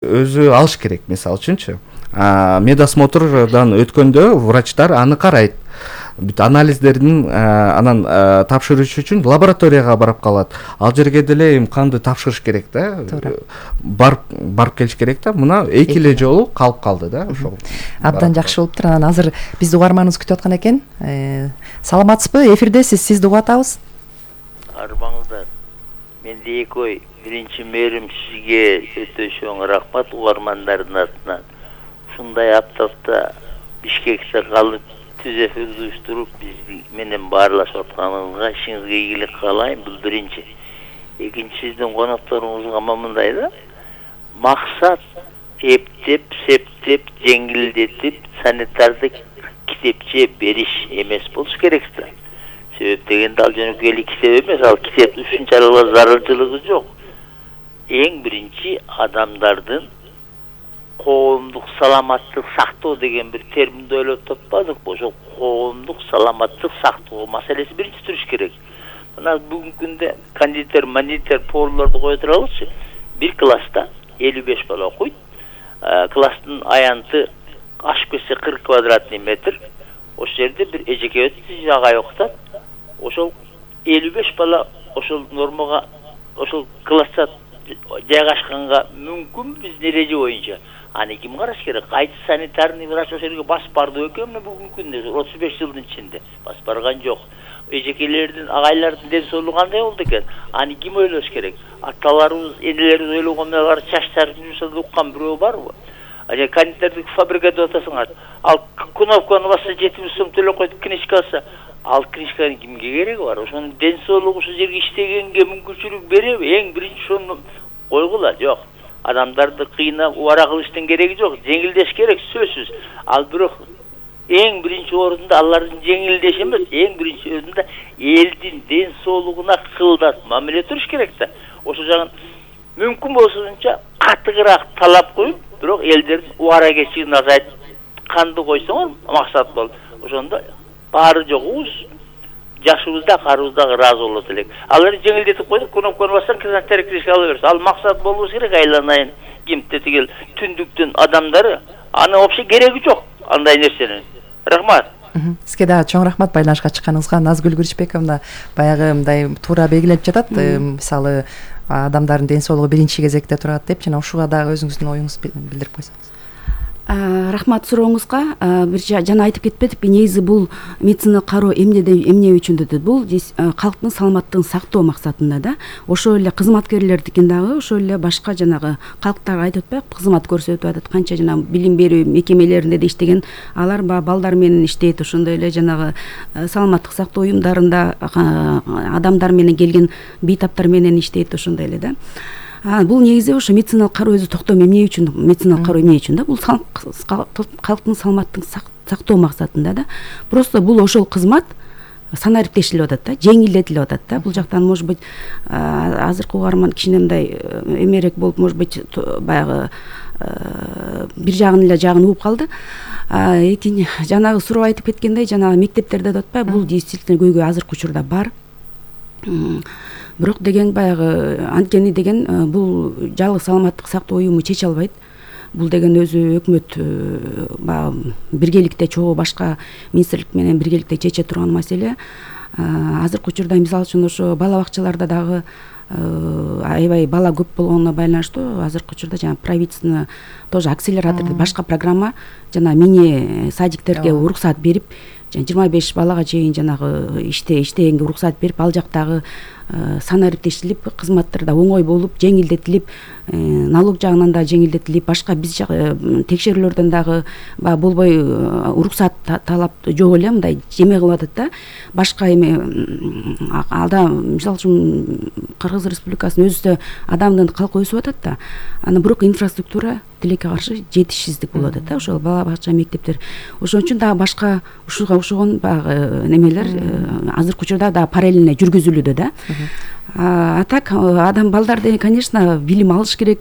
өзү алыш керек. Мисалы үчүнчү медосмотрдан өткөндө врачтар аны карайт. Бүт анализдердин анан тапшырыш үчүн лабораторияга барып калат. Ал жерге деле эми канды тапшырыш керек да. Барып келиш керек да. Мына 2 эле жолу калып калды да. Ошол. Абдан жакшы болуптур. Анан азыр бизди угарманыбыз күтүп аткан экен. Саламатсызбы? Эфирдесиз. Сизди угуп атабыз. Арбаңыздар. Менде эки ой. Биринчи мээрим сизге өтө чоң рахмат угармандардын атынан. Ушундай аптапта Бишкекте калып түз эфирди уюштуруп биз менен баарлашып атканыңызга ишиңизге ийгилик каалайм. Бул биринчи. Экинчи, сиздин конокторуңузга мындай да. Максат эптеп, септеп, жеңилдетип, санитардык китепче бериш эмес болуш керек да. Себеп дегенде ал жөнөкөй эле китеп эмес, ал китептин ушунчалык зарылчылыгы жок. Эң биринчи адамдардын коомдук саламаттык сактоо деген бир терминди ойлоп таппадыкпы? Ошол коомдук саламаттык сактоо маселеси биринчи туруш керек. Мына бүгүнкү күндө кондитер, монитор, поварларды кое туралычы. Бир класста 55 бала окуйт. Класстын аянты ашып кетсе 40 квадратный метр. Ошол жерде бир эжеке агай окутат. Ошол 55 бала ошол нормага, ошол класста жайгашканга мүмкүн биздин эреже боюнча. Аны ким караш керек? Кайсы санитарный врач ошол жерге басып барды экен бүгүнкү күндө 35 жылдын ичинде басып барган жок. Эжекелердин, агайлардын ден соолугу кандай болду экен? Аны ким ойлош керек? Аталарыбыз, энелерибиз ойлогон менен чачтарын жумшап уккан бирөө барбы? Ага кондитердик фабрика деп атасыңар. Ал кнопканы басса 70 сом төлөп коюп книжка алса, ал книжканын кимге кереги бар? Ошонун ден соолугу ушул жерге иштегенге мүмкүнчүлүк береби? Эң биринчи ошону койгула. Жок. Адамдарды кыйнап убара кылыштын кереги жок. Жеңилдеш керек сөзсүз. Ал бирок эң биринчи орунда алардын жеңилдеши эмес, эң биринчи орунда элдин ден соолугуна кылдат мамиле туруш керек да. Ошол жагын мүмкүн болсунча катыгыраак талап коюп, бирок элдердин убара кечигин азайтып канды койсоңор максат болот. Ошондо баары жогубуз жашыбыз да карыбыз да ыраазы болот элек. Алар жеңилдетип койдук, кнопканы бассаң кызматтар киришке ала берет. Ал максат болуш керек, айланайын кимти тигил түндүктүн адамдары. Аны вообще кереги жок андай нерсенин. Рахмат. Сизге да чоң рахмат байланышка чыкканыңызга. Назгүл Күрүчбековна баягы мындай туура белгилеп жатат. Мисалы адамдардын ден соолугу биринчи кезекте турат деп, жана ушуга дагы өзүңүздүн оюңузду билдирип койсоңуз. Рахмат сурооңузга. Бир жана айтып кетпедикпи, негизи бул медициналык кароо эмне үчүн дедит? Бул калктын саламаттыгын сактоо максатында да. Ошол эле кызматкерлердикин дагы ошол эле башка жанагы калктарга айтып атпайбы, кызмат көрсөтүп атат. Канча жана билим берүү мекемелеринде да иштеген, алар балдар менен иштейт. Ошондой эле жанагы саламаттык сактоо уюмдарында адамдар менен келген бейтаптар менен иштейт, ошондой эле да. Бул негизи ошо медициналык кароо өзү токтом эмне үчүн, медициналык кароо эмне үчүн да? Бул калктын саламаттыгын сактоо максатында да. Просто бул ошол кызмат санариптешилип атат да, жеңилдетилип атат да. Бул жактан может быть азыркы угарман кичине мындай эмерээк болуп, может быть баягы бир жагын угуп калды. Экинчи жанагы суроо айтып кеткендей, жанагы мектептерде деп атпайбы, бул действительно көйгөй азыркы учурда бар. Бирок деген баягы анткени деген бул жалгыз саламаттык сактоо уюму чече албайт. Бул деген өзү өкмөт баягы биргеликте чогуу башка министрлик менен биргеликте чече турган маселе. Азыркы учурда мисалы үчүн ошо бала бакчаларда дагы аябай бала көп болгонуна байланыштуу азыркы учурда жана правительство тоже акселератор башка программа жана мини садиктерге уруксат берип, 25 балага чейин жанагы иштегенге уруксат берип, ал жактагы санариптешилип, кызматтар да оңой болуп, жеңилдетилип, налог жагынан да жеңилдетилип, башка биз текшерүүлөрдөн дагы болбой уруксат талап жок эле мындай жеме кылып атат да. Башка эме алда мисалы үчүн Кыргыз Республикасынын өзүндө адамдын калкы өсүп атат да. Аны бирок инфраструктура тилекке каршы жетишсиздик болуп атат да. Ошол бала бакча, мектептер. Ошон үчүн дагы башка ушуга окшогон баягы немелер азыркы учурда да параллельно жүргүзүлүүдө да. А так адам балдар деген, конечно, билим алыш керек.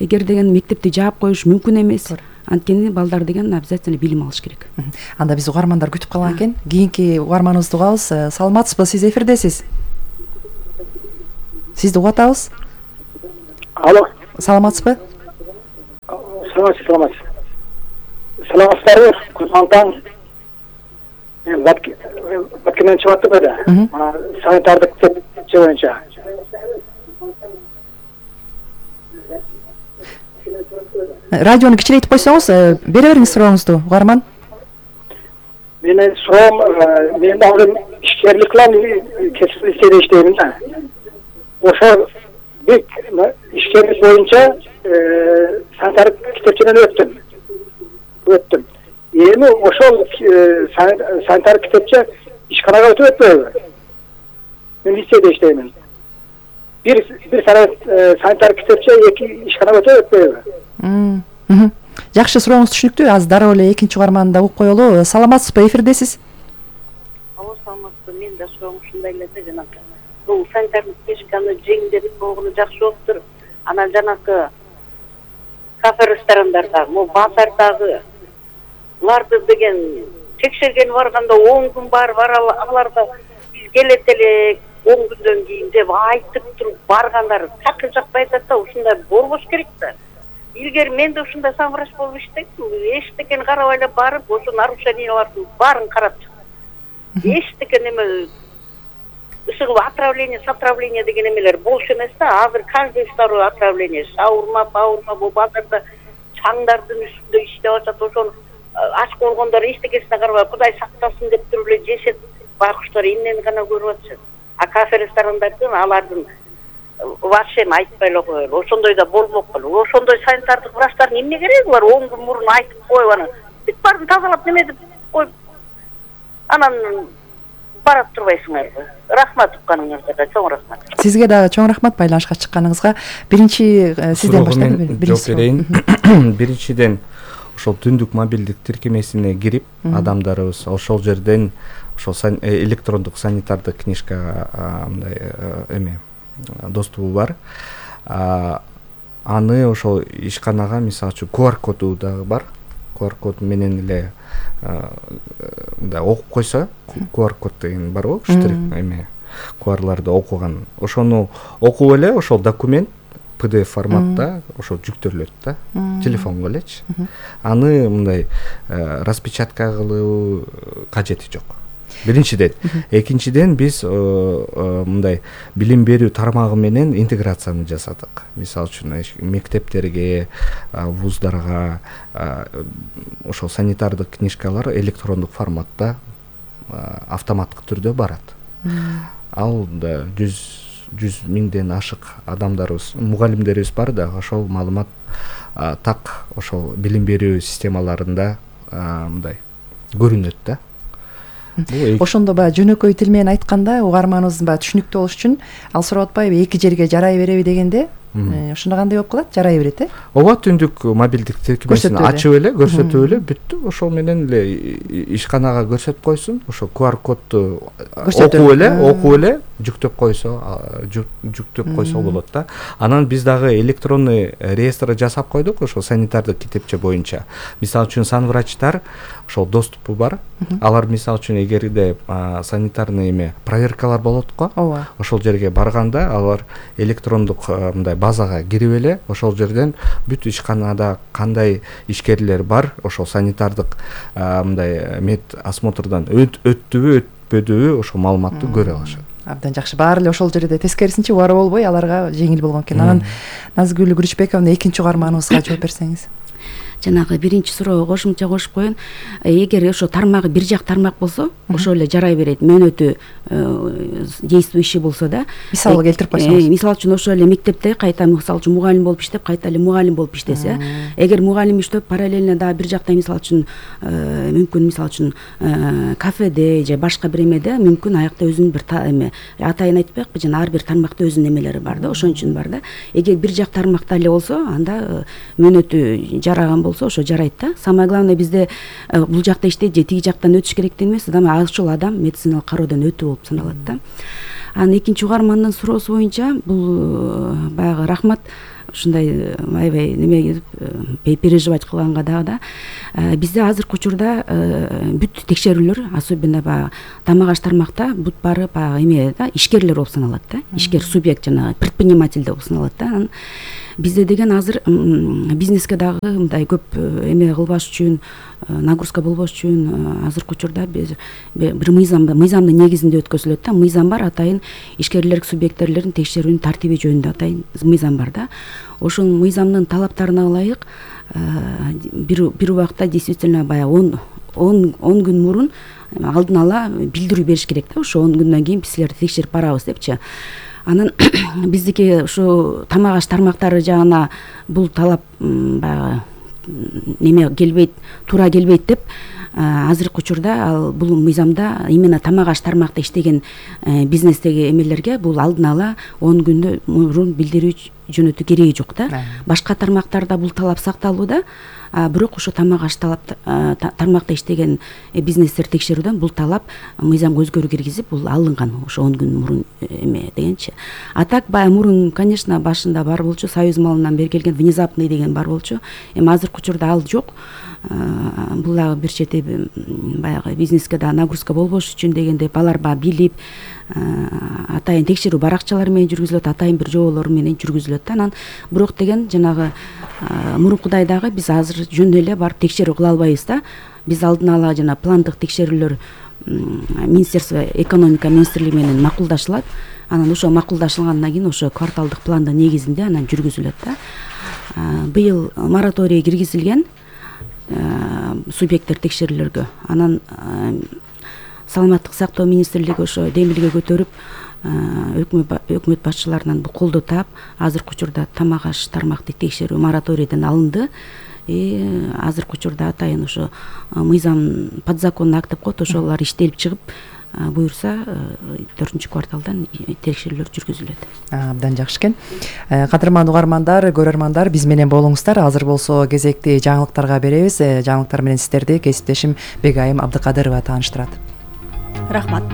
Эгер деген мектепти жаап коюш мүмкүн эмес. Анткени балдар деген обязательно билим алыш керек. Анда биз угармандар күтүп калган экен. Кийинки угарманыбызды угабыз. Саламатсызбы? Сиз эфирдесиз. Сизди угуп атабыз. Алло. Саламатсызбы? Саламатсыздарбы? Кутман таң. Баткенен чыгып аттык эле. Санитардык тепчи боюнча. Радиону кичирейтип койсоңуз, бере бериңиз сурооңузду, угарман. Менин суроом, мен азыр ишкерлик менен кесип иштейм да. Ошо бек ишкерлик боюнча санитардык китепчеден өттүм. Эми ошол санитардык китепче ишканага өтүп өтпөйбү? Мен лицейде иштеймин. Bir санитар китепче эки ишканага өтүп өтпөйбү? Жакшы, сурооңуз түшүнүктүү. Азыр дароо эле экинчи угарманды угуп коелу. Саламатсызбы, эфирдесиз? Алло, саламатсызбы. Мен да суроом ушундай эле да, жанагы. Бул санитардык книжканы жеңилдетип болгону жакшы болуптур. Анан жанагы кафе ресторандарда, базардагы буларды деген текшерген барганда 10 күн бар аларда биз келет элек 10 күндөн кийин деп айтып туруп баргандар такыр жакпай атат да, ушундай болбош керек да. Илгери мен да ушундай самврач болуп иштейм. Эчтекен карабай эле барып, ошо нарушениялардын баарын карап чыгып. Эчтекен эме ушул отравление деген эмелер болчу эмес да. Азыр каждый второй отравление, шаурма, бул базарда чаңдардын үстүндө иштеп атат. Ошону ач болгондор эчтекесине карабай, Кудай сактасын деп туруп эле жешет байкуштар эмнени гана көрүп атышат. А кафе ресторандардын алардын вообще айтпай эле коелу. Ошондой да болмок болду. Ошондой санитардык врачтардын эмне кереги бар? 10 күн мурун айтып коюп анан бүт баарын тазалап неме деп коюп анан барат турбайсыңарбы? Рахмат укканыңызга, чоң рахмат. Сизге дагы чоң рахмат байланышка чыкканыңызга. Биринчи сизден баштайлы. Биринчиден ошол түндүк мобилдик тиркемесине кирип, адамдарыбыз ошол жерден ошол электрондук санитардык книжкага мындай доступу бар. Аны ошол ишканага мисалы үчүн QR коду дагы бар. QR код менен эле мындай окуп койсо, QR код деген бар го, штрих QR'ларды окуган. Ошону окуп эле ошол документ PDF форматта ошо жүктөлөт да, телефонго элечи. Аны мындай распечатка кылуу кажети жок. Биринчиден. Экинчиден биз мындай билим берүү тармагы менен интеграцияны жасадык. Мисалы үчүн мектептерге, вуздарга ошол санитардык книжкалар электрондук форматта автоматтык түрдө барат. Ал да 100 миңден ашык адамдарыбыз, мугалимдерибиз бар да, ошол маалымат так ошол билим берүү системаларында мындай көрүнөт да. Ошондо баягы жөнөкөй тил менен айтканда, угарманыбыздын баягы түшүнүктүү болуш үчүн ал сурап атпайбы, эки жерге жарай береби дегенде, ошондо кандай болуп калат? Жарай берет, Ооба, түндүк мобилдик тиркемесин ачып эле, көрсөтүп эле, бүттү. Ошол менен эле ишканага көрсөтүп койсун, ошо QR кодду окуп эле жүктөп койсо болот да. Анан биз дагы электронный реестр жасап койдук ошол санитардык китепче боюнча. Мисалы үчүн санврачтар ошол доступу бар. Алар мисалы үчүн эгерде санитарный проверкалар болот го, ошол жерге барганда алар электрондук мындай базага кирип эле ошол жерден бүт ишканада кандай ишкерлер бар, ошол санитардык мындай мед осмотрдан өттүбү, өтпөдүбү ошол маалыматты көрө алышат. Абдан жакшы. Баары эле ошол жерде тескерисинче убара болбой, аларга жеңил болгон экен. Анан Назгүл Күрүчбековна экинчи угарманыбызга жооп берсеңиз. Жанагы биринчи суроого кошумча кошуп коеюн. Эгер ошо тармагы бир жак тармак болсо, ошол эле жарай берет. Мөөнөтү действующий болсо да. Мисалы келтирип койсоңуз. Мисалы үчүн ошол эле мектепте кайта мисалы үчүн мугалим болуп иштеп, кайта эле мугалим болуп иштесе, эгер мугалим иштеп параллельно дагы бир жакта мисалы үчүн мүмкүн мисалы үчүн кафеде же башка бир эмеде мүмкүн аякта өзүнүн бир атайын айтпайкпы, жана ар бир тармакта өзүнүн эмелери бар да, ошон үчүн бар да. Эгер бир жак тармакта эле болсо, анда мөөнөтү жараган болсо ошо жарайт да. Самое главное бизде бул жакта иштейт же тиги жактан өтүш керек деген эмес, ошол адам медициналык кароодон өтүү болуп саналат да. Анан экинчи угармандын суроосу боюнча бул баягы рахмат ушундай аябай неме переживать кылганга дагы да. Бизде азыркы учурда бүт текшерүүлөр, особенно баягы тамак аш тармакта бүт баары баягы эме да, ишкерлер болуп саналат да. Ишкер субъект жанагы предприниматель болуп саналат да. бизде деген азыр бизнеске дагы мындай көп эме кылбаш үчүн, нагрузка болбош үчүн азыркы учурда бир мыйзамдын негизинде өткөзүлөт да. Мыйзам бар, атайын ишкерлик субъекттерлерин текшерүүнүн тартиби жөнүндө атайын мыйзам бар да. Ошол мыйзамдын талаптарына ылайык бир убакта действительно баягы 10 күн мурун алдын ала билдирүү бериш керек да. Ошо 10 күндөн кийин биз силерди текшерип барабыз депчи. Анан биздики ушу тамак аш тармактары жагына бул талап баягы неме келбейт, туура келбейт деп азыркы учурда ал бул мыйзамда именно тамак аш тармакта иштеген бизнестеги эмелерге бул алдын ала 10 күндөн мурун билдирүү жөнөтүү кереги жок да. Башка тармактарда бул талап сакталууда, бирок ошо тамак аш тармакта иштеген бизнестер текшерүүдөн бул талап мыйзамга өзгөрүү киргизип бул алынган ошо 10 күн мурун эме дегенчи. А так баягы мурун, конечно, башында бар болчу, союз малынан бери келген внезапный деген бар болчу. Эми азыркы учурда ал жок. Бул дагы бир чети баягы бизнеске да нагрузка болбош үчүн дегенде алар билип атайын текшерүү баракчалары менен жүргүзүлөт, атайын бир жоболор менен жүргүзүлөт да. Анан бирок деген жанагы мурункудай дагы биз азыр жөн эле барып текшерүү кыла албайбыз да. Биз алдын ала жана пландык текшерүүлөр Министерство экономика министрлиги менен макулдашылат. Анан ошо макулдашылгандан кийин ошо кварталдык пландын негизинде анан жүргүзүлөт да. Быйыл мораторий киргизилген субъекттер текшерүүлөргө. Анан саламаттык сактоо министрлиги ошо демилге көтөрүп өкмөт башчыларынан бул колдоо таап, азыркы учурда тамак аш тармакты текшерүү мораторийден алынды. Азыркы учурда атайын ошо мыйзам подзаконный акт деп коет, ошолор иштелип чыгып, буюрса 4-кварталдан текшерүүлөр жүргүзүлөт. Абдан жакшы экен. Кадырман угармандар, көрөрмандар, биз менен болуңуздар. Азыр болсо кезекти жаңылыктарга беребиз. Жаңылыктар менен сиздерди кесиптешим Бегайым Абдыкадырова тааныштырат. Рахмат.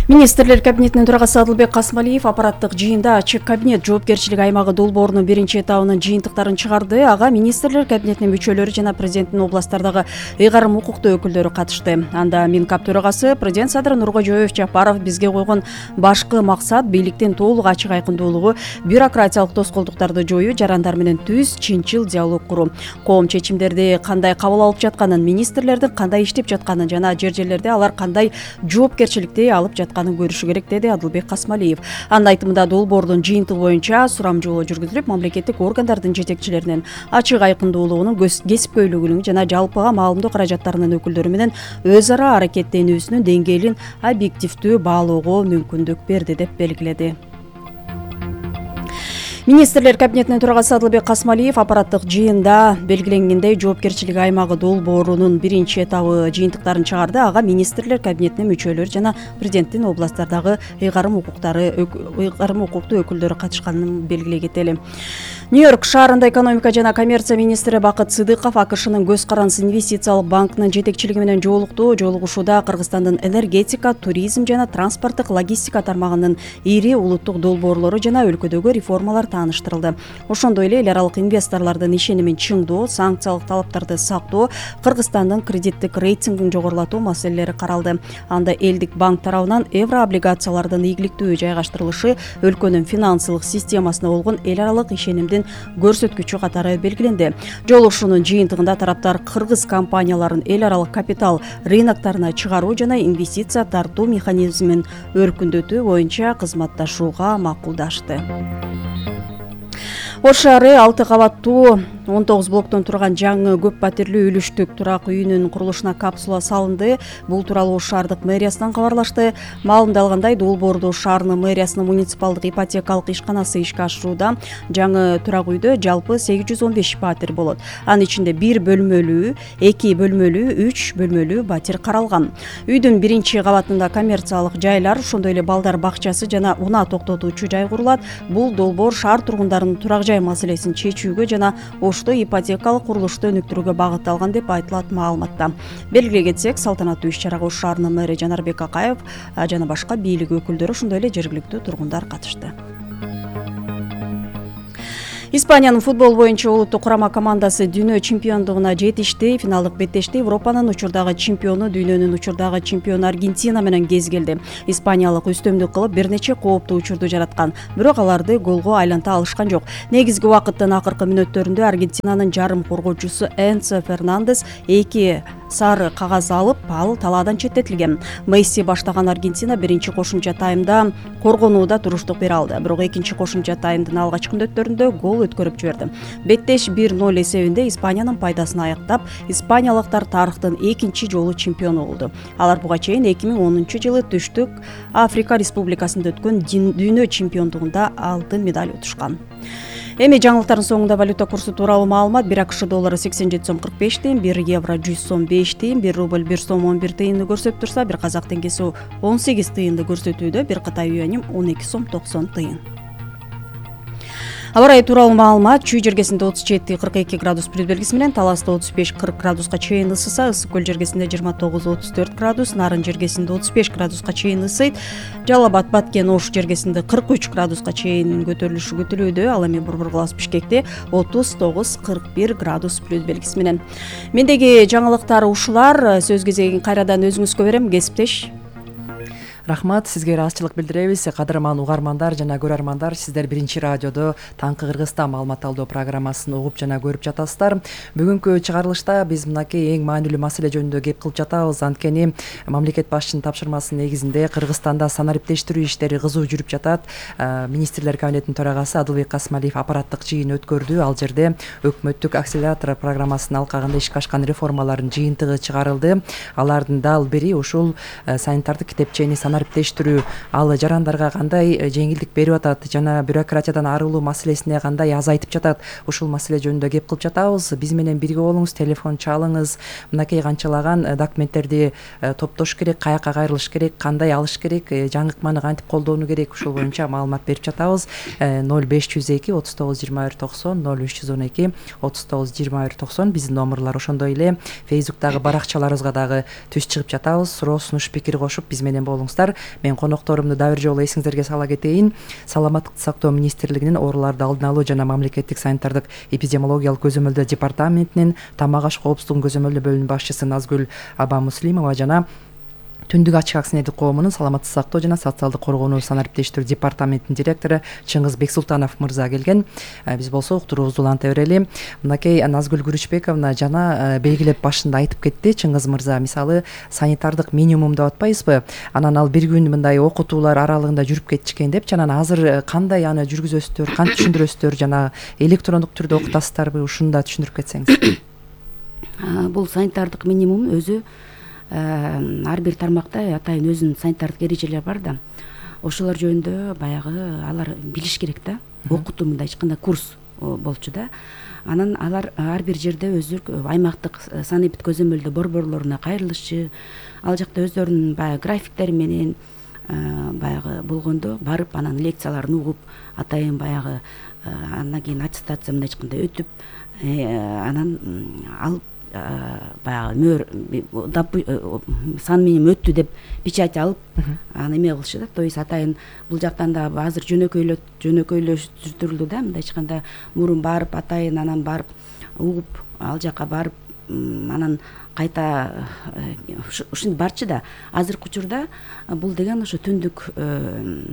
Министрлер кабинетинин төрагасы Адылбек Касмалиев аппараттык жыйында ачык кабинет жоопкерчилик аймагы долбоорунун биринчи этабынын жыйынтыктарын чыгарды. Ага министрлер кабинетинин мүчөлөрү жана президенттин областтардагы ыйгарым укуктуу өкүлдөрү катышты. Анда Минкап төрагасы президент Садыр Нуркожоев Жапаров бизге койгон башкы максат бийликтин толук ачык айкындуулугу, бюрократиялык тоскоолдуктарды жоюу, жарандар менен түз, чынчыл диалог куруу. Коом чечимдерди кандай кабыл алып жатканын, министрлердин кандай иштеп жатканын жана жерлерде алар кандай жоопкерчиликти алып жатканын көрүшү керек, деди Адылбек Касмалиев. Анын айтымында долбоордун жыйынтыгы боюнча сурамжылоо жүргүзүлүп, мамлекеттик органдардын жетекчилеринин ачык айкындуулугунун, кесипкөйлүгүнүн жана жалпыга маалымдоо каражаттарынын өкүлдөрү менен өз ара аракеттенүүсүнүн деңгээлин объективдүү баалоого мүмкүндүк берди деп белгиледи. Министрлер кабинетинин төрагасы Адылбек Касмалиев аппараттык жыйында белгиленгендей жоопкерчилик аймагы долбоорунун биринчи этабы жыйынтыктарын чыгарды. Ага министрлер кабинетинин мүчөлөрү жана президенттин областтардагы ыйгарым укуктуу өкүлдөрү катышканын белгилей кетели. Нью-Йорк шаарында экономика жана коммерция министри Бакыт Сыдыков АКШнын Көз Карандысы инвестициялык банкынын жетекчилиги менен жолукту. Жолугушууда Кыргызстандын энергетика, туризм жана транспорттук логистика тармагынын ири улуттук долбоорлору жана өлкөдөгү реформалар тааныштырылды. Ошондой эле эл аралык инвесторлордун ишенимин чыңдоо, санкциялык талаптарды сактоо, Кыргызстандын кредиттик рейтингин жогорулатуу маселелери каралды. Анда элдик банк тарабынан евро облигациялардын ийгиликтүү жайгаштырылышы өлкөнүн финансылык системасына болгон эл аралык ишенимдин көрсөткүчү катары белгиленди. Жолугушуунун жыйынтыгында тараптар кыргыз компанияларын эл аралык капитал рыноктарына чыгаруу жана инвестиция тартуу механизмин өркүндөтүү боюнча кызматташууга макулдашты. Ош шаары 6 кабаттуу 19 блоктон турган жаңы көп патирлүү үлүштүк турак үйүнүн курулушуна капсула салынды. Бул тууралуу Ош шаардык мэриясынан кабарлашты. Маалымдалгандай, долбоорду Ош шаарынын мэриясынын муниципалдык ипотекалык ишканасы ишке ашырууда. Жаңы турак үйдө жалпы 815 патир болот. Анын ичинде 1 бөлмөлүү, 2 бөлмөлүү, 3 бөлмөлүү батир каралган. Үйдүн биринчи кабатында коммерциялык жайлар, ошондой эле балдар бакчасы жана унаа токтотуучу жай курулат. Бул долбоор шаар тургундарынын турак жай маселесин чечүүгө жана Ошто ипотекалык курулушту өнүктүрүүгө багытталган деп айтылат маалыматта. Белгилей кетсек, салтанаттуу иш-чарага Ош шаарынын мэри Жанарбек Акаев жана башка бийлик өкүлдөрү, ошондой эле жергиликтүү тургундар катышты. Испаниянын футбол боюнча улуттук курама командасы дүйнө чемпиондугуна жетишти. Финалдык беттеште Европанын учурдагы чемпиону, дүйнөнүн учурдагы чемпиону Аргентина менен кез келди. Испаниялык үстөмдүк кылып бир нече кооптуу учурду жараткан, бирок аларды голго айланта алышкан жок. Негизги убакыттын акыркы мүнөттөрүндө Аргентинанын жарым коргоочусу Энцо Фернандес 2 сары кагаз алып, ал талаадан четтетилген. Месси баштаган Аргентина биринчи кошумча таймда коргонууда туруштук бере алды, бирок экинчи кошумча таймдын алгачкы мүнөттөрүндө гол өткөрүп жиберди. Беттеш 1-0 эсебинде Испаниянын пайдасына аяктап, испаниялыктар тарыхтын экинчи жолу чемпиону болду. Алар буга чейин 2010-жылы Түштүк Африка Республикасында өткөн дүйнө чемпиондугунда алтын медаль утушкан. Эми жаңылыктардын соңунда валюта курсу тууралуу маалымат. 1 АКШ доллары 87 сом 45 тыйын, 1 евро 100 сом 5 тыйын, 1 рубль 1 сом 11 тыйынды көрсөтүп турса, 1 казак теңгеси 18 тыйынды көрсөтүүдө, 1 Кытай юанем 12 сом 90 тыйын. Аба ырайы тууралуу маалымат. Чүй жергесинде 37-42 градус плюс белгиси менен, Таласта 35-40 градуска чейин ысыса, Ысык көл жергесинде 29-34 градус, Нарын жергесинде 35 градуска чейин ысыйт. Жалал Абад, Баткен, Ош жергесинде 43 градуска чейин көтөрүлүшү күтүлүүдө. Ал эми Борбор-Класс Бишкекте 39-41 градус плюс белгиси менен. Мендеги жаңылыктар ушулар. Сөз кезегин кайрадан өзүңүзгө берем, кесиптеш. Рахмат, сизге ыраазычылык билдиребиз. Кадырман угармандар жана көрөрмандар, сиздер Биринчи радиодо Таңкы Кыргызстан маалымат алуу программасын угуп жана көрүп жатасыздар. Бүгүнкү чыгарылышта биз мынакей эң маанилүү маселе жөнүндө кеп кылып жатабыз. Анткени мамлекет башчынын тапшырмасынын негизинде Кыргызстанда санариптештирүү иштери кызуу жүрүп жатат. Министрлер кабинетинин төрагасы Адылбек Касмалиев аппараттык жыйын өткөрдү. Ал жерде өкмөттүк акселератор программасынын алкагында ишке ашкан реформалардын жыйынтыгы чыгарылды. Алардын дал бири ушул санитардык китепчени санариптештирүү. Ал жарандарга кандай жеңилдик берип атат жана бюрократиядан арылуу маселесине кандай азайтып жатат, ушул маселе жөнүндө кеп кылып жатабыз. Биз менен бирге болуңуз, телефон чалыңыз. Мынакей канчалаган документтерди топтош керек, каяка кайрылыш керек, кандай алыш керек, жаңыкманы кантип колдонуу керек, ушул боюнча маалымат берип жатабыз. 0502 39 21 90, 0312 39 21 90 биздин номерлор. Ошондой эле Facebooktагы баракчаларыбызга дагы түз чыгып жатабыз. Суроо, сунуш, пикир кошуп биз менен болуңуздар. Мен конокторумду да бир жолу эсиңиздерге сала кетейин. Саламаттыкты сактоо министрлигинин ооруларды алдын алуу жана мамлекеттик санитардык эпидемиологиялык көзөмөлдөө департаментинин тамак аш коопсуздугун көзөмөлдөө бөлүмүнүн башчысы Назгүл Абамуслимова жана Түндүк ачык акционердик коомунун саламаттыкты сактоо жана социалдык коргоону санариптештирүү департаментинин директору Чыңгыз Бексултанов мырза келген. Биз болсо уктуруубузду уланта берели. Мынакей Назгүл Күрүчбековна жана белгилеп башында айтып кетти Чыңгыз мырза. Мисалы, санитардык минимум деп атпайбызбы? Анан ал бир күн мындай окутуулар аралыгында жүрүп кетишкен деп, анан азыр кандай аны жүргүзөсүздөр, кантип түшүндүрөсүздөр, жана электрондук түрдө окутасыздарбы? Ушуну да түшүндүрүп кетсеңиз. Бул санитардык минимум өзү ар бир тармакта атайын өзүнүн санитардык эрежелери бар да. Ошолор жөнүндө баягы алар билиш керек да. Окутуу мындай кандай курс болчу да. Анан алар ар бир жерде өздөрү аймактык санэпид көзөмөлдөө борборлоруна кайрылышчы, ал жакта өздөрүнүн баягы графиктери менен баягы болгондо барып анан лекцияларын угуп, атайын баягы андан кийин аттестация мындай кандай өтүп, анан алып баягы сан менен өттү деп печать алып аны эме кылышы да. То есть атайын бул жактан да азыр жөнөкөйлөштүрүлдү да. Мындайча айтканда мурун барып атайын анан барып угуп, ал жака барып анан кайта ушинти барчы да. Азыркы учурда бул деген ошо түндүк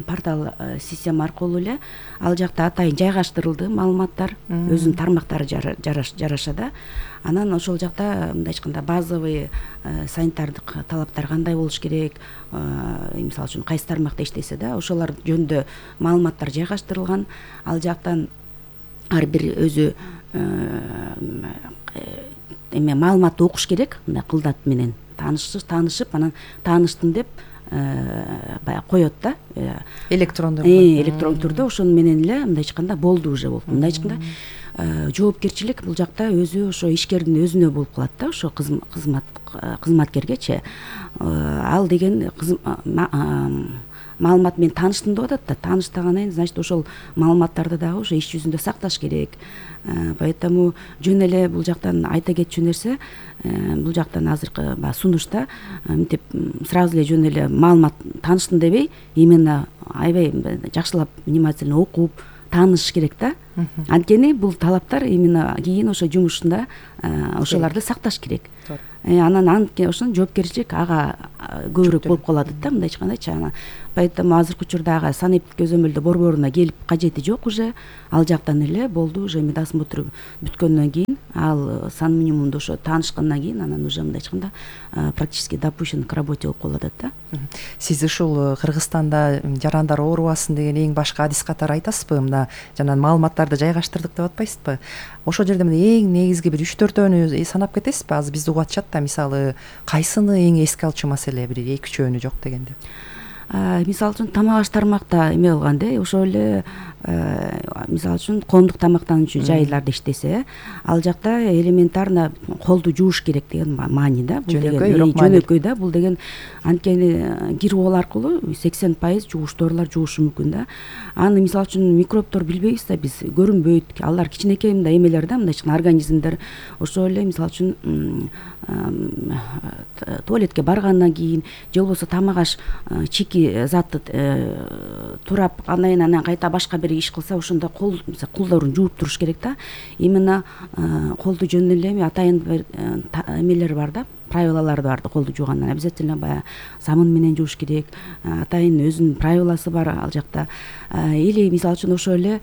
портал система аркылуу эле ал жакта атайын жайгаштырылды маалыматтар, өзүнүн тармактары жараша да. Анан ошол жакта мындай айтканда базовый санитардык талаптар кандай болуш керек, мисалы үчүн кайсы тармакта иштесе да, ошолор жөнүндө маалыматтар жайгаштырылган. Ал жактан ар бир өзү эме маалыматты окуш керек, мындай кылдат менен таанышып, анан тааныштым деп баягы коет да. Электрондук түрдө ошону менен эле мындай айтканда болду, уже болуп. Мындай айтканда жоопкерчилик бул жакта өзү ошо ишкердин өзүнө болуп калат да, ошо кызматкергечи. Ал деген маалымат менен тааныштым деп атат да. Тааныштагандан кийин, значит, ошол маалыматтарды дагы ошо иш жүзүндө сакташ керек. Поэтому жөн эле бул жактан айта кетчү нерсе, бул жактан азыркы сунушта мынтип сразу эле жөн эле маалымат тааныштым дебей, именно аябай жакшылап внимательно окуп, тааныш керек да. Анткени бул талаптар именно кийин ошо жумушунда ошолорду сакташ керек. Анан ошонун жоопкерчилик ага көбүрөөк болуп калат да, мындай айткандачы. Поэтому азыркы учурда ага санэптик көзөмөлдө борборуна келип кажети жок уже. Ал жактан эле болду, уже медосмотр бүткөндөн кийин, ал сан минимумду ошо таанышкандан кийин анан уже мындай айтканда практически допущен к работе болуп калып атат да. Сиз ушул Кыргызстанда жарандар оорубасын деген эң башкы адис катары айтасызбы? Мына жана маалыматтарды жайгаштырдык деп атпайсызбы? Ошол жерде эң негизги бир 3-4өөнү санап кетесизби? Азыр бизди угуп атышат да, мисалы кайсыны эң эске алчу маселе, бир 2-3 жок дегенде. Мисалы үчүн тамак аш тармакта эме кылган да, ошол эле мисалы үчүн коомдук тамактануучу жайларда иштесе, ал жакта элементарно колду жууш керек деген маани да. Бул деген жөнөкөй да, бул деген анткени кир кол аркылуу 80% жугучторлор жуушу мүмкүн да. Аны мисалы үчүн микробтор билбейбиз да, биз көрүнбөйт. Алар кичинекей мындай эмелер да, мындай организмдер. Ошол эле мисалы үчүн туалетке баргандан кийин же болбосо тамак аш чики затты турап анан кайта башка бир иш кылса, ошондо колдорун жууп туруш керек да. Именно колду жөн эле атайын эмелер бар да, правилалар бар да, колду жуугандан обязательно баягы самын менен жууш керек. Атайын өзүнүн правиласы бар ал жакта. Или мисалы үчүн ошол эле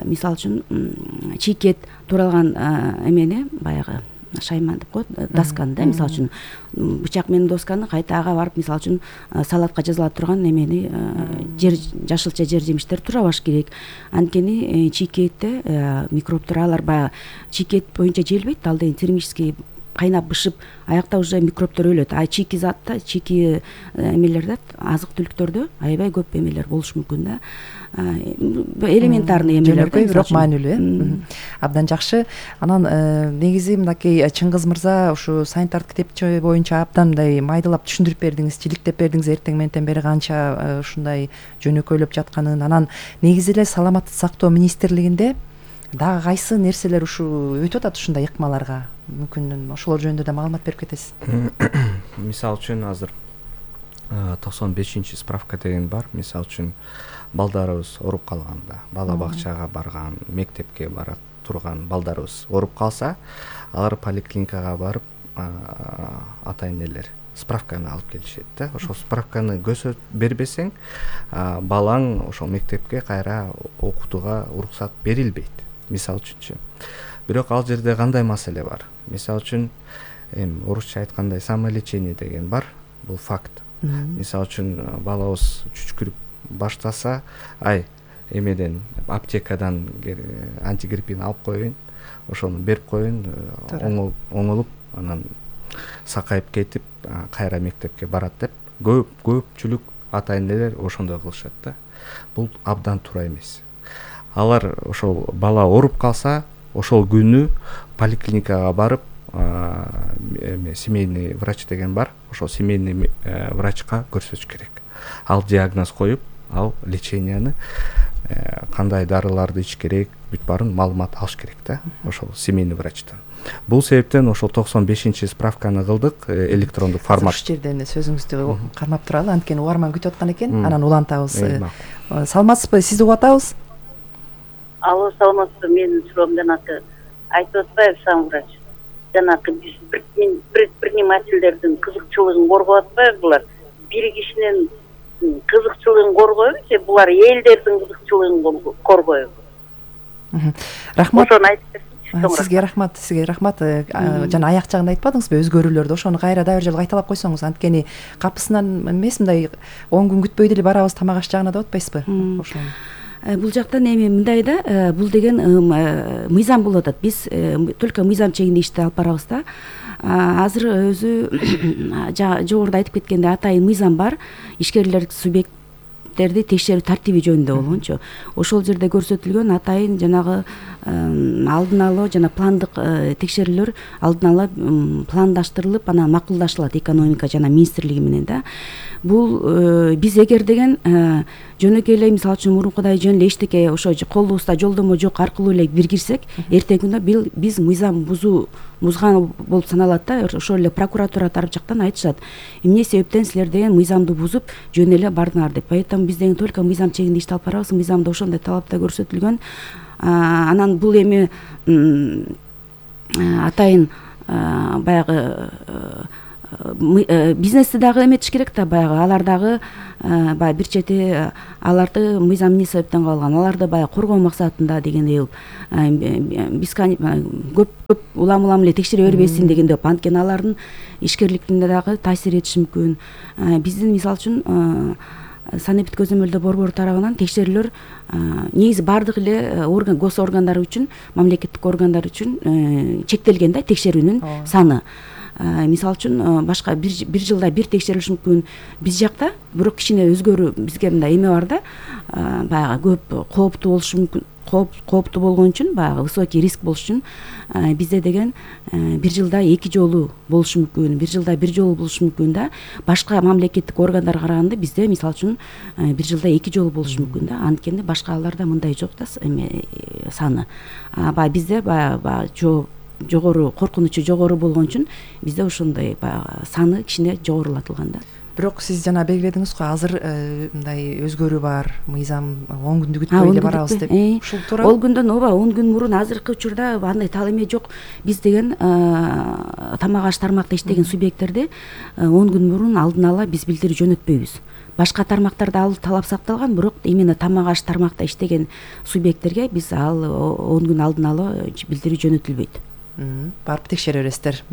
мисалы үчүн чийкет туралган эмени баягы шайман деп коет, досканы да, мисалы үчүн бычак менен досканы кайта ага барып, мисалы үчүн салатка жазыла турган эмени жашылча жер жемиштер турабаш керек. Анткени чийкетте микробтор алар баягы чийкет боюнча желбейт, ал деген термический кайнап бышып, аякта уже микробтор өлөт. Чийки затта, чийки эмелерде, азык түлүктөрдө аябай көп эмелер болуш мүмкүн да. Элементарный эмелер, бирок маанилүү. Абдан жакшы. Анан негизи мынакей Чыңгыз мырза ушу санитардык китепче боюнча абдан мындай майдалап түшүндүрүп бердиңиз, жиликтеп бердиңиз эртең менен бери канча ушундай жөнөкөйлөп жатканын. Анан негизи эле саламаттык сактоо министрлигинде дагы кайсы нерселер ушу өтүп атат ушундай ыкмаларга? Мүмкүн ошолор жөнүндө да маалымат берип кетесиз. Мисалы үчүн азыр 95 справка деген бар. Мисалы үчүн балдарыбыз ооруп калганда, бала бакчага барган, мектепке бара турган балдарыбыз ооруп калса, алар поликлиникага барып атайын элер справканы алып келишет да. Ошол справканы көзөп бербесең, балаң ошол мектепке кайра окутууга уруксат берилбейт. Мисалы үчүнчү. Бирок ал жерде кандай маселе бар? Мисалы үчүн орусча айткандай самолечение деген бар. Бул факт. Мисалы үчүн балабыз чүчкүрүп баштаса, эмеден аптекадан антигриппин алып коеюн, ошону берип коеюн, оңолуп, анан сакайып кетип, кайра мектепке барат деп көпчүлүк атайын элер ошондой кылышат да. Бул абдан туура эмес. Алар ошол бала ооруп калса, ошол күнү поликлиникага барып, семейный врач деген бар, ошол семейный врачка көрсөтүш керек. Ал диагноз коюп, ал леченияны кандай дарыларды ич керек, бүт баарын маалымат алыш керек да, ошол семейный врачтан. Бул себептен ошол 95 справканы кылдык, электрондук формат. Ушул жерден сөзүңүздү кармап туралы, анткени угарман күтүп аткан экен, анан улантабыз. Саламатсызбы, сизди угуп атабыз. Алло, саламатсызбы, менин суроом жанакы айтып атпайбы сам врач? Жанакы биз предпринимательдердин кызыкчылыгын коргоп атпайбы булар? Бир кишинин кызыкчылыгын коргойбу же булар элдердин кызыкчылыгын коргойбу? Рахмат. Ошону айтып берсеңиз. Сизге рахмат. Жана аяк жагында айтпадыңызбы өзгөрүүлөрдү? Ошону кайра дагы бир жолу кайталап койсоңуз, анткени капысынан эмес, мындай 10 күн күтпөй деле барабыз тамак аш жагына деп атпайсызбы? Ошону бул жактан эми мындай да, бул деген мыйзам болуп атат. Биз только мыйзам чегинде ишти алып барабыз да. Азыр өзү жогоруда айтып кеткендей атайын мыйзам бар. Ишкерлер субъекттерди текшерүү тартиби жөнүндө болгончу. Ошол жерде көрсөтүлгөн атайын жанагы алдын ала жана пландык текшерүүлөр алдын ала пландаштырылып, анан макулдашылат экономика жана министрлиги менен да. Бул биз эгер деген жөнөкөй эле мисалы үчүн мурункудай жөн эле эчтеке ошо колубузда жолдомо жок аркылуу эле бир кирсек, эртеңки күндө биз мыйзам бузган болуп саналат да. Ошол эле прокуратура тарап жактан айтышат, эмне себептен силер деген мыйзамды бузуп жөн эле бардыңар деп. Поэтому биз деген только мыйзам чегинде ишти алып барабыз, мыйзамда ошондой талапта көрсөтүлгөн. Анан бул эми атайын баягы бизнести дагы эметиш керек да, баягы алар дагы баягы бир чети аларды мыйзам эмне себептен кабылган, аларды баягы коргоо максатында дегендей биз көп улам эле текшере бербесин дегендей, анткени алардын ишкерликтине дагы таасир этиши мүмкүн. Биздин мисалы үчүн санэпид көзөмөлдөө борбору тарабынан текшерүүлөр негизи баардык эле гос органдар үчүн, мамлекеттик органдар үчүн чектелген да текшерүүнүн саны. Мисалы үчүн башка бир жылда бир текшерилиши мүмкүн биз жакта, бирок кичине өзгөрүү бизге мындай эме бар да, баягы көп кооптуу болушу мүмкүн, кооптуу болгон үчүн, баягы высокий риск болуш үчүн бизде деген бир жылда 2 жолу болушу мүмкүн, бир жылда бир жолу болушу мүмкүн да. Башка мамлекеттик органдарга караганда бизде мисалы үчүн бир жылда 2 жолу болушу мүмкүн да. Анткени башка аларда мындай жок да саны. Баягы бизде баягы жогору коркунучу жогору болгон үчүн бизде ошондой баягы саны кичине жогорулатылган да. Бирок сиз жана белгиледиңиз го, азыр мындай өзгөрүү бар, мыйзам 10 күндү күтпөй эле барабыз деп. Ушул туура. Ол күндөн 10 күн мурун азыркы учурда андай тал эме жок. Биз деген тамак аш тармакта иштеген субъекттерди 10 күн мурун алдын ала биз билдирүү жөнөтпөйбүз. Башка тармактарда ал талап сакталган, бирок именно тамак аш тармакта иштеген субъекттерге биз ал 10 күн алдын ала билдирүү жөнөтүлбөйт. Барып текшере бересиздер.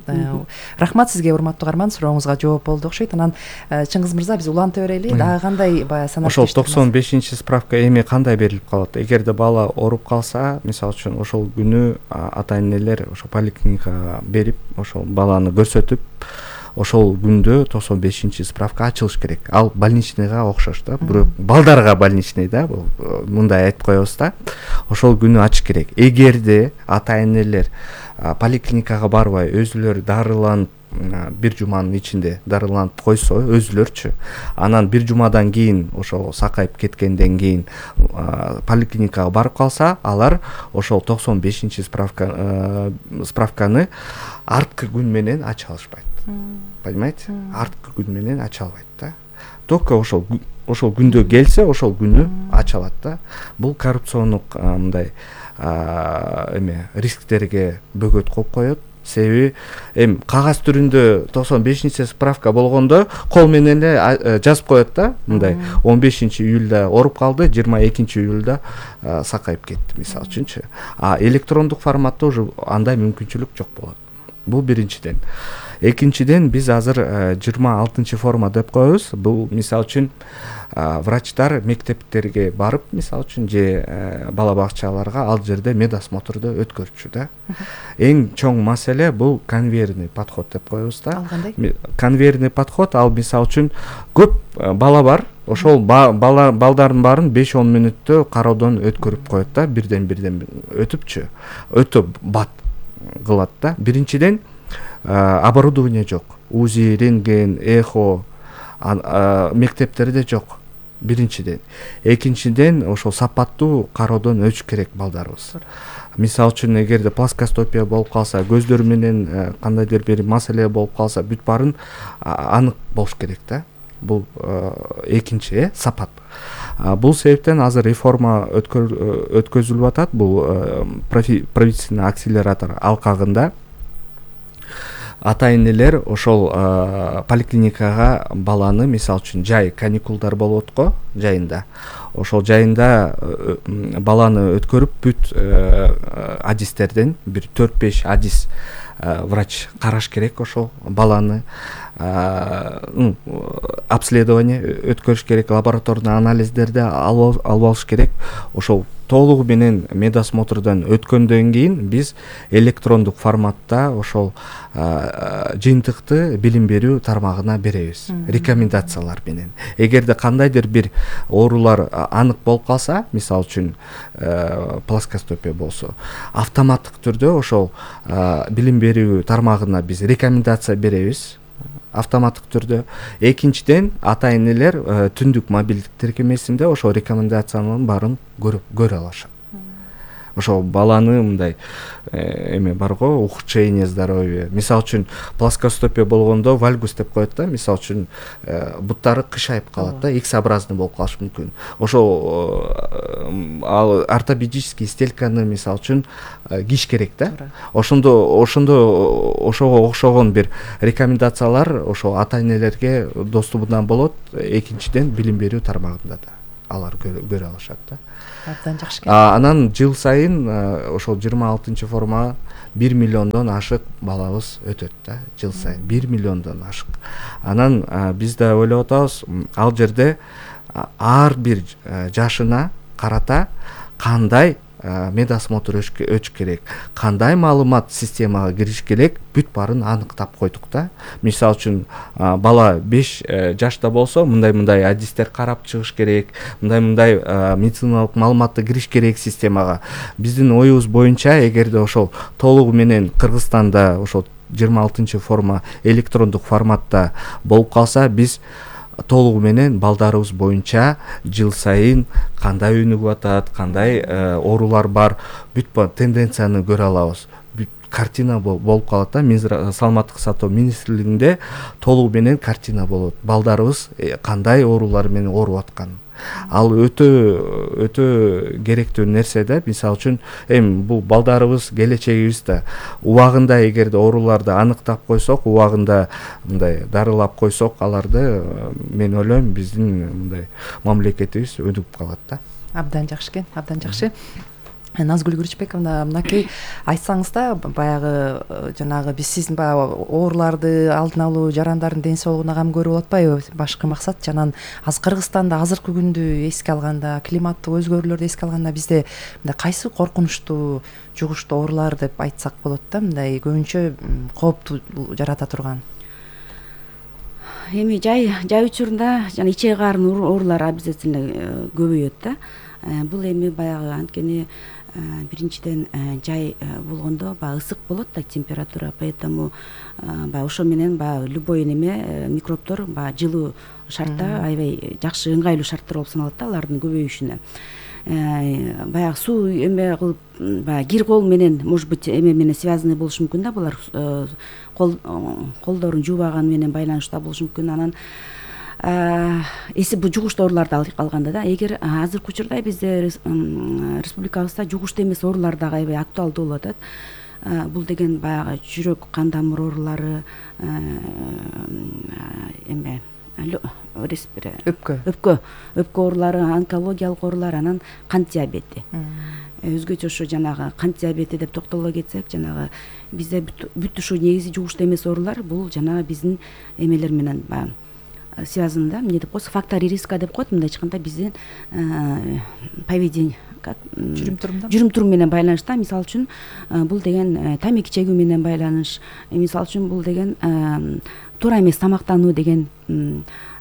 Рахмат сизге, урматтуу каарман, сурооңузга жооп болду окшойт. Анан Чыңгыз мырза, биз уланта берели. Дагы кандай баягы санап ошол 95 справка эми кандай берилип калат? Эгерде бала ооруп калса, мисалы үчүн ошол күнү ата энелер ошо поликлиникага берип, ошол баланы көрсөтүп, ошол күндө 95 справка ачылыш керек. Ал больничныйга окшош да, бирок балдарга больничный да, мындай айтып коебуз да. Ошол күнү ачыш керек. Эгерде ата энелер поликлиникага барбай өзүлөрү дарыланып, бир жуманын ичинде дарыланып койсо өзүлөрчү, анан бир жумадан кийин ошол сакайып кеткенден кийин поликлиникага барып калса, алар ошол 95 справканы арткы күн менен ача алышпайт. Понимаете? Арткы күн менен ача албайт да. Только ошол күндө келсе, ошол күнү ача алат да. Бул коррупциондук мындай рисктерге бөгөт коюп коет. Себеби кагаз түрүндө 95 справка болгондо кол менен эле жазып коет да, мындай 15 июлда ооруп калды, 22 июлда сакайып кетти, мисалы үчүнчү. Электрондук форматта уже андай мүмкүнчүлүк жок болот. Бул биринчиден. Экинчиден, биз азыр 26 форма деп коебуз. Бул мисалы үчүн врачтар мектептерге барып, мисалы үчүн же бала бакчаларга ал жерде медосмотрду өткөрчү да. Эң чоң маселе бул конвейерный подход деп коебуз да. Конвейерный подход, ал мисалы үчүн көп бала бар, ошол балдардын баарын 5-10 мүнөттө кароодон өткөрүп коет да, бирден өтүпчү, өтө бат кылат да. Биринчиден, оборудование жок. УЗИ, рентген, эхо мектептерде жок. Биринчиден. Экинчиден, ошол сапаттуу кароодон өтүш керек балдарыбыз. Мисалы үчүн, эгерде плоскостопия болуп калса, көздөр менен кандайдыр бир маселе болуп калса, бүт баарын анык болуш керек да. Бул экинчи сапат. Бул себептен азыр реформа өткөзүлүп атат. Бул правительственный акселератор алкагында ата энелер ошол поликлиникага баланы, мисалы үчүн, жай каникулдар болот го, жайында. Ошол жайында баланы өткөрүп, бүт адистерден бир 4-5 адис врач караш керек ошол баланы. Обследование өткөрүш керек, лабораторный анализдерди алып алыш керек. Ошол толугу менен медосмотрдон өткөндөн кийин биз электрондук форматта ошол жыйынтыкты билим берүү тармагына беребиз, рекомендациялар менен. Эгерде кандайдыр бир оорулар анык болуп калса, мисалы үчүн плоскостопия болсо, автоматтык түрдө ошол билим берүү тармагына биз рекомендация беребиз. Автоматтык түрдө. Экинчиден, ата энелер түндүк мобилдик тиркемесинде ошол рекомендациянын баарын көрө алышат. ошо баланы мындай эме бар го, ухудшение здоровья. Мисалы үчүн плоскостопия болгондо вальгус деп коет да, мисалы үчүн буттары кышайып калат да, X-образный болуп калышы мүмкүн. Ошо ал ортопедический стельканы мисалы үчүн кийиш керек да. Ошого окшогон бир рекомендациялар ошо ата-энелерге доступунан болот. Экинчиден билим берүү тармагында да алар көрө алышат да. Абдан жакшы. Анан жыл сайын ошол 26-формага 1 миллиондон ашык балабыз өтөт да, жыл сайын 1 миллиондон ашык. Анан биз да ойлоп атабыз, ал жерде ар бир жашына карата кандай медосмотр өтүш керек, кандай маалымат системага кириш керек, бүт баарын аныктап койдук да. Мисалы үчүн бала 5 жашта болсо мындай адистер карап чыгыш керек, мындай медициналык маалыматты кириш керек системага. Биздин оюбуз боюнча эгерде ошол толугу менен Кыргызстанда ошол 26-форма электрондук форматта болуп калса, биз толугу менен балдарыбыз боюнча жыл сайын кандай өнүгүп атат, кандай оорулар бар, бүт тенденцияны көрө алабыз. Бүт картина болуп калат да. Саламаттык сактоо министрлигинде толугу менен картина болот. Балдарыбыз кандай оорулар менен ооруп аткан. Ал өтө керектүү нерсе да. Мисалы үчүн бул балдарыбыз келечегибиз да. Убагында эгерде ооруларды аныктап койсок, убагында мындай дарылап койсок, аларды мен ойлойм биздин мындай мамлекетибиз өнүгүп калат да. Абдан жакшы, абдан жакшы. Назгүл Күрүчбековна, мынакей айтсаңыз да, баягы жанагы биз сиздин баягы ооруларды алдын алуу, жарандардын ден соолугуна кам көрүп атпайбы? Башкы максат жанан Кыргызстанда азыркы күндү эске алганда, климаттык өзгөрүүлөрдү эске алганда бизде мындай кайсы коркунучтуу, жугуштуу оорулар деп айтсак болот да, мындай көбүнчө кооптуу жарата турган. Эми жай учурунда жана ичеги каарынын оорулары обязательно көбөйөт да. Бул эми баягы анткени биринчиден жай болгондо баягы ысык болот да температура, поэтому баягы ошо менен баягы любой неме микробдор баягы жылуу шартта аябай жакшы ыңгайлуу шарттар болуп саналат да алардын көбөйүшүнө. Баягы суу эме кылып баягы кир кол менен, может быть, эме менен связанный болушу мүмкүн да, булар колдорун жуубаган менен байланыштуу болушу мүмкүн. Анан бул жугуштуу ооруларды алганда да, эгер азыркы учурда бизде республикабызда жугуштуу эмес оорулар дагы аябай актуалдуу болуп атат. Бул деген баягы жүрөк кан тамыр оорулары, эме өпкө оорулары, онкологиялык оорулар, анан кант диабети. Өзгөчө ушу жанагы кант диабети деп токтоло кетсек, жанагы бизде бүт ушу негизи жугуштуу эмес оорулар бул жанагы биздин эмелер менен баягы связан да, эмне деп коесуз, фактори риска деп коет, мындай айтканда биздин поведение, жүрүм турум менен байланыштуу. Мисалы үчүн бул деген тамеки чегүү менен байланыш, мисалы үчүн бул деген туура эмес тамактануу деген,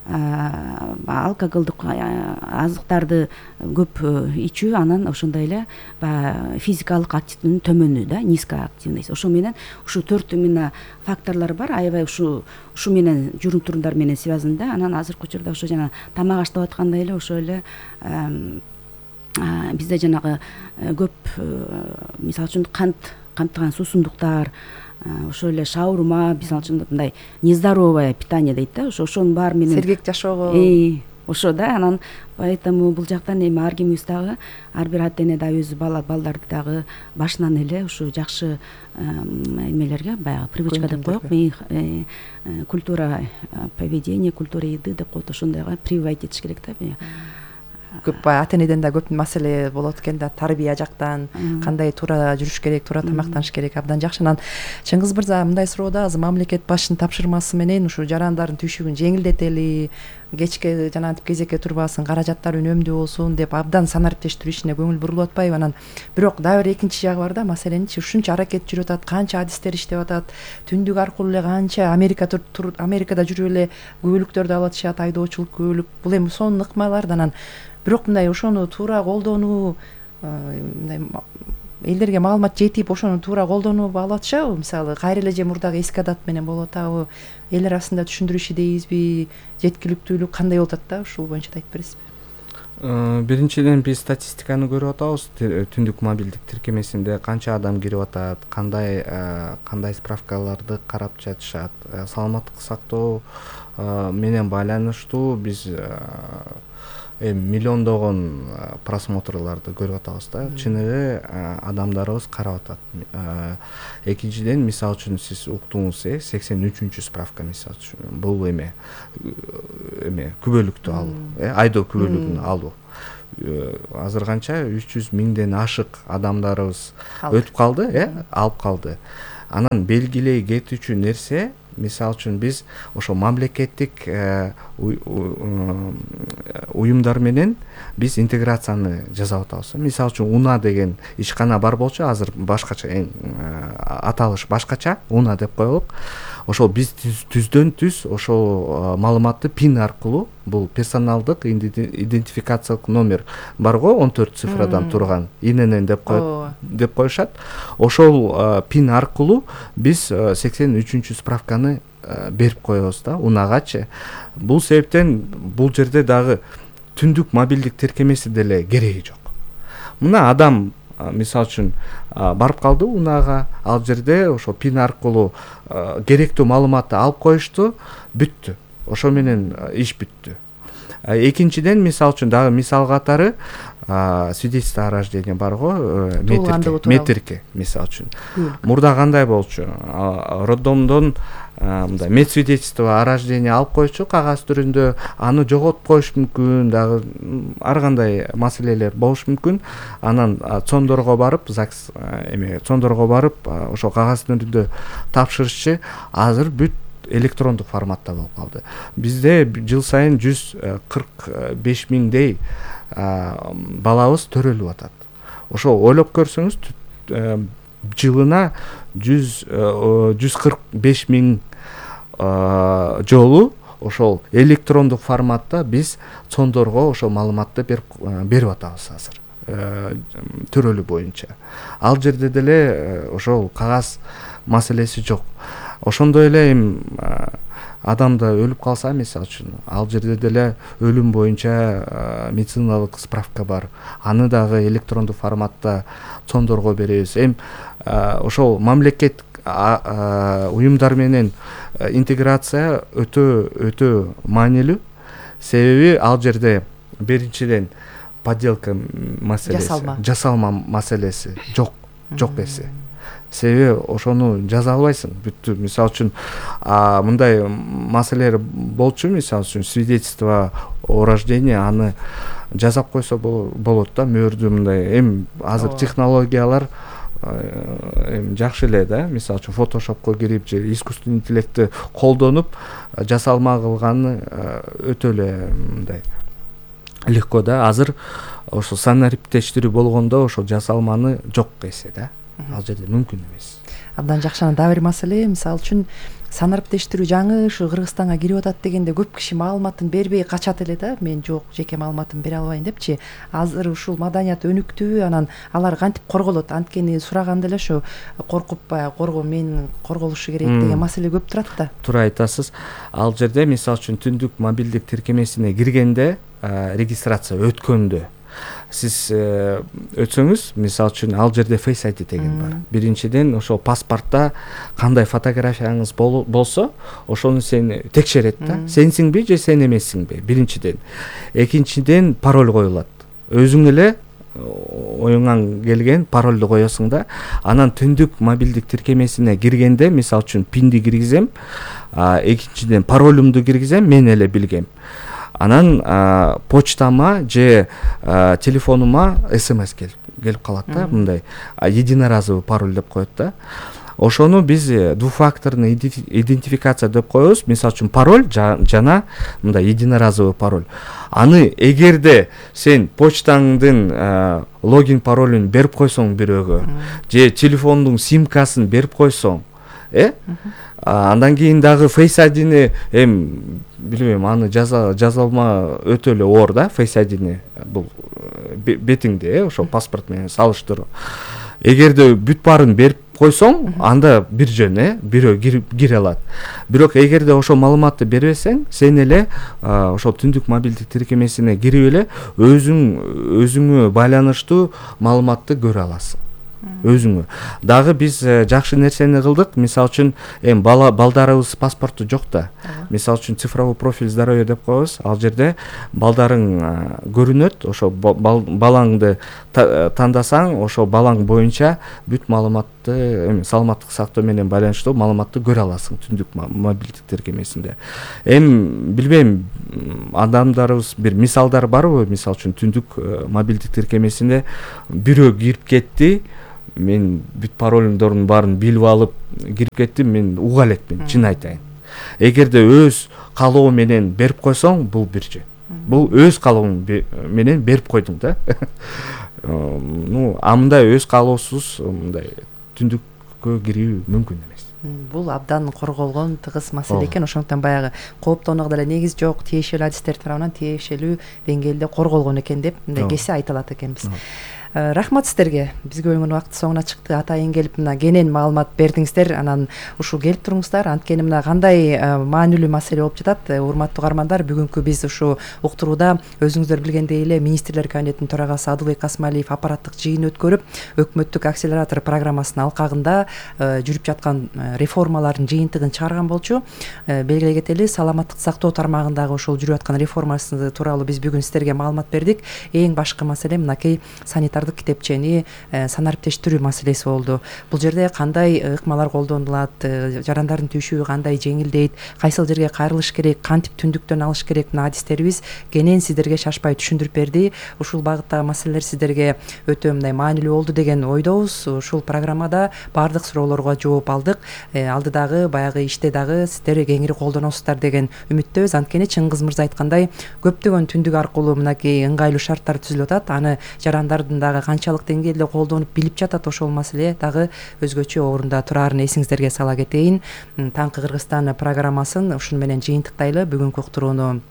алкоголдук азыктарды көп ичүү, анан ошондой эле физикалык активдүүлүктүн төмөнү да, низкоактивность. Ошо менен ушу 4 именно факторлор бар, аябай ушу менен жүрүм турумдар менен связан да. Анан азыркы учурда ошо жана тамак аш деп аткандай эле ошо эле бизде жанагы көп, мисалы үчүн камтыган суусундуктар, ошо эле шаурма, мисалы үчүн мындай нездоровое питание дейт да, ошонун баары менен сергек жашоого ошо да. Анан поэтому бул жактан эми ар кимибиз дагы, ар бир ата эне дагы өзү балдарды дагы башынан эле ушу жакшы эмелерге, баягы привычка деп коелук, культура поведения, культура еды деп коет, ошондойго прививать этиш керек да. Көп ата энеден да көп маселе болот экен да, тарбия жактан кандай туура жүрүш керек, туура тамактаныш керек. Абдан жакшы. Анан Чыңгыз мырза, мындай суроода азыр мамлекет башчынын тапшырмасы менен ушу жарандардын түйшүгүн жеңилдетели, кечке жанагынтип кезекке турбасын, каражаттар үнөмдүү болсун деп абдан санариптештирүү ишине көңүл бурулуп атпайбы? Анан бирок дагы бир экинчи жагы бар да, маселеничи ушунча аракет жүрүп атат, канча адистер иштеп атат, түндүк аркылуу эле канча Америкада жүрүп эле күбөлүктөрдү алып атышат, айдоочулук күбөлүк, бул эми сонун ыкмаларды. Анан бирок мындай ошону туура колдонуу, мындай элдерге маалымат жетип ошону туура колдонуп алып атышабы? Мисалы, кайра эле же мурдагы эски адат менен болуп атабы? Эл арасында түшүндүрүү иши дейбизби? Жеткиликтүүлүк кандай болуп атат да? Ушул боюнча да айтып бересизби? Биринчиден биз статистиканы көрүп атабыз. Түндүк мобилдик тиркемесинде канча адам кирип атат, кандай справкаларды карап жатышат. Саламаттык сактоо менен байланыштуу биз миллиондогон просмотрларды көрүп атабыз да. Чын эле адамдарыбыз карап атат. Экинчиден, мисалы үчүн сиз уктуңуз, 83 справка мисалы үчүн бул күбөлүктү алуу, айдоо күбөлүгүн алуу. Азыр канча 300 миңден ашык адамдарыбыз өтүп калды, алып калды. Анан белгилей кетүүчү нерсе, мисалы үчүн биз ошо мамлекеттик уюмдар менен биз интеграцияны жасап атабыз. Мисалы үчүн УНА деген ишкана бар болчу, азыр башкача аталыш башкача, УНА деп коелук. Ошол биз түздөн түз ошол маалыматты пин аркылуу, бул персоналдык идентификациялык номер барго, 14 цифрадан турган, ИНН деп коюшат. Ошол пин аркылуу биз 83 справканы берип коебуз да УНАгачы. Бул себептен бул жерде дагы түндүк мобилдик тиркемеси деле кереги жок. Мына адам мисалы үчүн барып калды УНАга, ал жерде ошо пин аркылуу керектүү маалыматты алып коюшту, бүттү. Ошо менен иш бүттү. Экинчиден, мисалы үчүн дагы мисал катары свидетельство о рождении барго, метрикке мисалы үчүн. Мурда кандай болчу? Роддомдон мындай медсвидетельство о рождении алып койчу кагаз түрүндө, аны жоготуп коюш мүмкүн, дагы ар кандай маселелер болуш мүмкүн. Анан цондорго барып, ЗАГС цондорго барып, ошо кагаз түрүндө тапшырышчы. Азыр бүт электрондук форматта болуп калды. Бизде жыл сайын 145 миңдей балабыз төрөлүп атат. Ошо ойлоп көрсөңүз, жылына 145 миң жолу ошол электрондук форматта биз цондорго ошол маалыматты берип атабыз азыр. Төрөлүү боюнча. Ал жерде деле ошол кагаз маселеси жок. Ошондой эле адамда өлүп калса, мисалы үчүн, ал жерде деле өлүм боюнча медициналык справка бар. Аны дагы электрондук форматта цондорго беребиз. Ошол мамлекет уюмдар менен интеграция өтө маанилүү. Себеби ал жерде биринчиден подделка маселеси, жасалма маселеси жок эсе. Себеби ошону жаза албайсың бүттү. Мисалы үчүн мындай маселелер болчу, мисалы үчүн свидетельство о рождении, аны жасап койсо болот да, мөөрдү мындай. Азыр технологиялар жакшы эле да. Мисалы үчүн фотошопко кирип же искусственный интеллектти колдонуп жасалма кылганы өтө эле мындай легко да. Азыр ошо санариптештирүү болгондо ошо жасалманы жок эсе да. Ал жерде мүмкүн эмес. Абдан жакшы. Дагы бир маселе, мисалы үчүн санариптештирүү жаңы ушу Кыргызстанга кирип атат дегенде көп киши маалыматын бербей качат эле да. Мен жок, жеке маалыматымды бере албайм депчи. Азыр ушул маданият өнүктүү, анан алар кантип корголот? Анткени сураганда эле ошо коркуп мен корголушу керек деген маселе көп турат да. Туура айтасыз. Ал жерде мисалы үчүн түндүк мобилдик тиркемесине киргенде, регистрация өткөндө сиз өтсөңүз, мисалы үчүн ал жерде Face ID деген бар. Биринчиден ошо паспортто кандай фотографияңыз болсо, ошону сени текшерет да. Сенсиңби же сен эмессиңби? Биринчиден. Экинчиден, пароль коюлат. Өзүң эле оюңан келген паролду коесуң да. Анан түндүк мобилдик тиркемесине киргенде, мисалы үчүн пинди киргизем, экинчиден паролумду киргизем, мен эле билгем. Анан почтама же телефонума СМС келип калат да, мындай единоразовый пароль деп коет да. Ошону биз двухфакторный идентификация деп коебуз. Мисалы үчүн пароль жана мындай единоразовый пароль. Аны эгерде сен почтаңдын логин паролун берип койсоң бирөөгө, же телефондун симкасын берип койсоң, андан кийин дагы Face ID-ни билбейм, аны жазалма өтө эле оор да. Face ID-ни бул бетиңди ошо паспорт менен салыштыруу. Эгерде бүт баарын берип койсоң, анда бир жөн бирөө кире алат. Бирок эгерде ошол маалыматты бербесең, сен эле ошол түндүк мобилдик тиркемесине кирип эле өзүңө байланыштуу маалыматты көрө аласың. Өзүңө. Дагы биз жакшы нерсени кылдык. Мисалы үчүн балдарыбыз паспорту жок да. Мисалы үчүн цифровой профиль здоровья деп коебуз. Ал жерде балдарың көрүнөт. Ошо балаңды тандасаң, ошо балаң боюнча бүт маалыматты, саламаттык сактоо менен байланыштуу маалыматты көрө аласың түндүк мобилдик тиркемесинде. Билбейм, адамдарыбыз бир мисалдар барбы? Мисалы үчүн түндүк мобилдик тиркемесине бирөө кирип кетти. Мен бүт паролдордун баарын билип алып кирип кеттим, мен уга элекмин, чын айтайын. Эгерде өз каалоо менен берип койсоң, бул бир жөн. Бул өз каалооң менен берип койдуң да. Мындай өз каалоосуз мындай түндүккө кирүү мүмкүн эмес. Бул абдан корголгон тыгыз маселе экен. Ошондуктан баягы кооптонууга деле негиз жок, тиешелүү адистер тарабынан тиешелүү деңгээлде корголгон экен деп мындай кесе айтылат экенбиз. Рахмат сиздерге. Бизге бөлүнгөн убакыт соңуна чыкты. Атайын келип мына кенен маалымат бердиңиздер. Анан ушул келип туруңуздар. Анткени мына кандай маанилүү маселе болуп жатат. Урматтуу каармандар, бүгүнкү биз ушу уктурууда өзүңүздөр билгендей эле Министрлер Кабинетинин төрагасы Адылбек Касмалиев аппараттык жыйын өткөрүп, өкмөттүк акселератор программасынын алкагында жүрүп жаткан реформалардын жыйынтыгын чыгарган болчу. Белгилей кетели, саламаттык сактоо тармагындагы ошол жүрүп аткан реформасы тууралуу биз бүгүн сиздерге маалымат бердик. Эң башкы маселе мынакей санитардык китепчени санариптештирүү маселеси болду. Бул жерде кандай ыкмалар колдонулат, жарандардын түшүгү кандай жеңилдейт, кайсыл жерге кайрылыш керек, кантип түндүктөн алыш керек, мына адистерибиз кенен сиздерге шашпай түшүндүрүп берди. Ушул багыттагы маселелер сиздерге өтө мындай маанилүү болду деген ойдобуз. Ушул программада баардык суроолорго жооп алдык. Алдыдагы баягы иште дагы сиздер кеңири колдоносуздар деген үмүттөбүз. Анткени Чыңгыз мырза айткандай, көптөгөн түндүк аркылуу мынакей ыңгайлуу шарттар түзүлүп атат. Аны жарандардын канчалык деңгээлде колдонуп билип жатат, ошол маселе дагы өзгөчө орунда турарын эсиңиздерге сала кетейин. Таңкы Кыргызстан программасын ушуну менен жыйынтыктайлы. Бүгүнкү уктурууну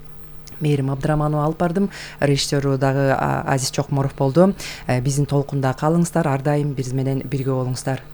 Мээрим Абдыраманова алып бардым. Режиссеру дагы Азиз Чокморов болду. Биздин толкунда калыңыздар, ар дайым биз менен бирге болуңуздар.